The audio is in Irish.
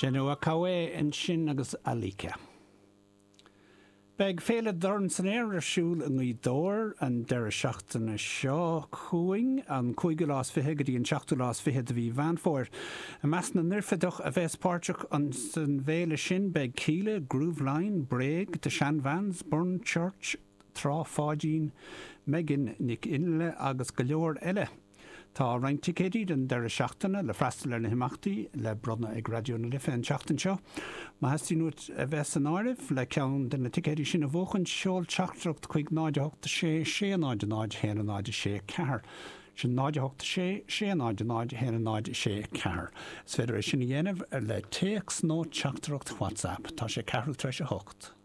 Genoa Kawe ansin agus Alika. Beidh Féile Dorn san Aer ar siúl i nGaoth Dobhair an deireadh seachtaine seo chugainn, an cúigiú lá is fiche go dtí an seachtú lá is fiche de mhí Mheán Fómhair. I measc na n-oirfideach a bheas páirteach san bhféile sin beidh Kíla, Grooveline, Bréag, The Shan Vans, Burn Church, Trá Pháidín, Megan Nic Fhionnghaile agus go leor eile. Tá roinnt ticéidí don deireadh seachtaine le freastal ar na himeachtaí le bronnadh ag Raidió na Life an tseachtain seo. Má theastaíonn uait a bheith san áireamh le ceann de na ticéidí sin a bhuachan, seol teachtaireacht chuig 0 8 6 6 0 0 1 0 6 4. Sin 0 8 6 6 0 0 1 0 6 4. Is féidir é sin a dhéanamh le téacs nó teachtaireacht WhatsApp. Tá sé ceathrú tar éis a hocht.